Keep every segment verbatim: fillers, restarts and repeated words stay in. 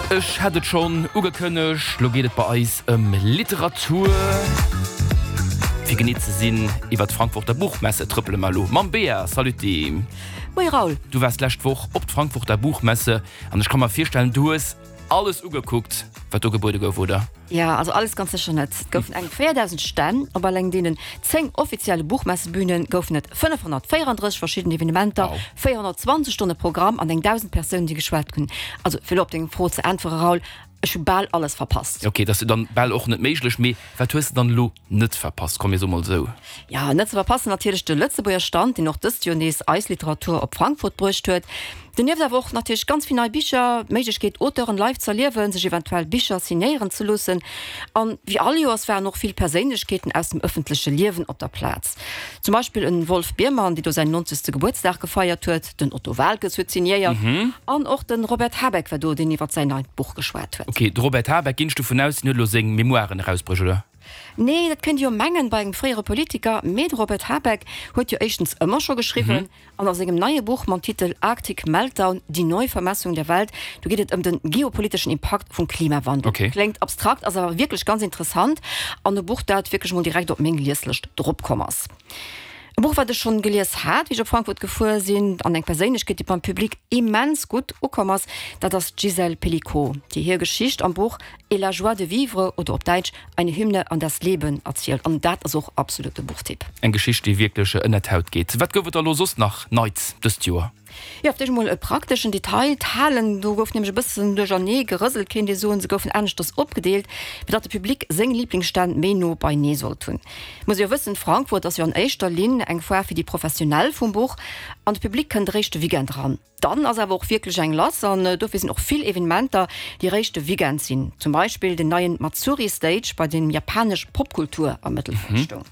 Ech hat et schonn ugekënnegt, lo geet et bei eis ëm Literatur. Fir genee ze sinn, iwwer d'Frankfurter Buchmesse trëppele mer elo mam Bea. Saluti. Moie Raoul. Du waars d'lescht Woch op d'Frankfurter Buchmesse an ech ka mer virstellen, du hues alles ugekuckt, wat do gebuede gouf, oder? Jo, also alles ganz sécher net. Et goufen eng véierdausend Stänn. Op alleng deenen zéng offizielle Buchmessebühne goufen et fënnefhonnertvéierandrësseg verschidden Evenementer, véierhonnertzwanzeg Stonne Programm an eng dausend Persounen, déi geschwat hunn. Also fir elo op deng Fro ze äntwere Raoul, ech hu bal alles verpasst. Ok, dat ass jo dann bal och net méiglech. Mee wat hues de dann elo net verpasst? Komm mir soe mol esou. Jo, net ze verpassen natierlech de Lëtzebuerger Stand, deen och dëst Joer nees eis Literatur op Frankfurt bruecht huet. Donieft awer och natierlech ganz vill nei Bicher, d'Méiglechkeet Auteuren live z'erliewen, sech eventuell Bicher signéieren ze loossen. An wéi all Joers waren och vill Perséinlechkeeten aus dem ëffentleche Liewen op der Plaz. Zum Beispill en Wolf Biermann, dee do säin nonzegste Gebuertsdag gefeiert huet, den Otto Waalkes huet signéiert an och de Robert Habeck war do, deen iwwert säin neit Buch geschwat huet. Ok, de Robert Habeck, ginn ech dovun aus, deen huet elo seng Memoiren erausbruecht, oder? Nee, dat kënnt ee jo mengen bei engem fréiere Politiker, mee de Robert Habeck huet jo éischtens ëmmer scho geschriwwen an a sengem neie Buch mam Titel Arctic Meltdown, Die Neuvermessung der Welt, do geet et ëm de geopoliteschen Impakt vum Klimawandel. Ok. Kléngt abstrakt, ass awer wierklech ganz interessant an e Buch, dat wierklech mol direkt op meng Lieslëscht drop komm ass. E Buch, wat ech schonn gelies hat, wéi ech op Frankfurt gefuer sinn, an eng Perséinlechkeet, déi beim Public immens gutt ukomm ass, dat ass d'Gisèle Pelicot, déi hir Geschicht am Buch Et la joie de vivre oder op Däitsch Eine Hymne an das Leben erzielt. An dat ass och absolut e Buchtipp. Eng Geschicht, déi wierklech ënnert d'Haut geet. Wat gouf et da lo soss nach Neits dëst Joer? Jo, op d'éischt emol e prakteschen Detail, D'Halen, do gouf nämlech e bëssen duerchernee gerëselt, kéint ee soen. Se goufen aneschters opgedeelt, fir datt de Public seng Liblingsstänn méi no beinee sollt hunn. Muss ee jo wëssen, Frankfurt ass jo an éischter Linn eng Foire fir déi Professionell vum Buch an de Public kënnt eréischt de Weekend eran. Dann ass awer och wierklech eng lass an dofir sinn och vill Evenementer, déi eréischt de Weekend sinn. Zum Beispill den neien Matsuri Stage, bei deem japanesch Popkultur am Mëttelpunkt stoung.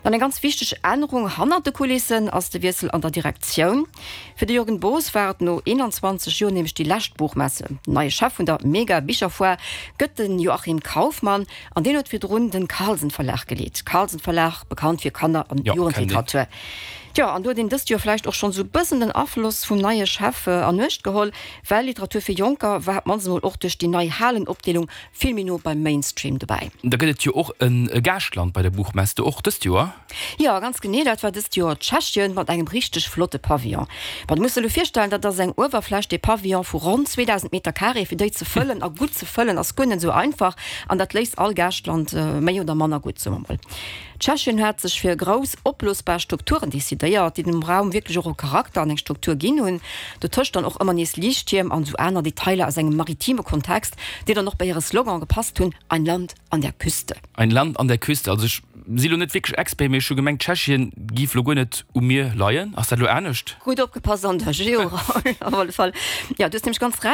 Dann eng ganz wichteg Ännerung hannert de Kulissen ass de Wiessel an der Direktioun. Fir de Jürgen Boos war et no eenanzwanzeg Joer nämlech déi lescht Buchmesse. Neie Chef vun der Mega-Bicherfoire gëtt de Joachim Kaufmann an deen huet virdrun de Carlsen Verlag geleet. Carlsen Verlag, bekannt fir Kanner an Jo, kennen een. Jugendliteratur. Tjo, an do huet een dëst Joer vläicht och schonn esou bëssen den Afloss vum neie Chef an Uecht geholl, well Literatur fir Jonker war op d'mannst emol och duerch déi nei Halenopdeelung vill méi no beim Mainstream dobäi. Da gëtt et jo och e Gaaschtland bei der Buchmesse, och dëst Joer? Jo, ganz genee, dat war dëst Joer Tschechien mat engem richteg flotte Pavillon. Bon, du muss der elo virstellen, dat ass eng Uewerfläch, dee Pavillon, vu ronn zweedausend Meter carré. Fir déi ze fëllen a gutt ze fëllen ass guer net esou einfach an dat léist all Gaaschtland méi oder manner gutt, soe mer mol. Tschechien hat sech fir grouss opblosbar Strukturen decidéiert, déi dem Raum wierklech och e Charakter an eng Struktur ginn hunn. Dotëscht dann och ëmmer nees Liichttierm an esou aner Detailer aus engem maritime Kontext, déi dann och bei hire Slogan gepasst hunn, Ein Land an der Küste. Ein Land an der Küste. Also ech si lo net wierklech Expert, mee ech hu gemengt Tschechien giff lo guer net um Mier leien. Ass dat lo anescht? Gutt opgepasst an der Geo, Raoul, op alle Fall. Jo, du hues nämlech ganz Recht.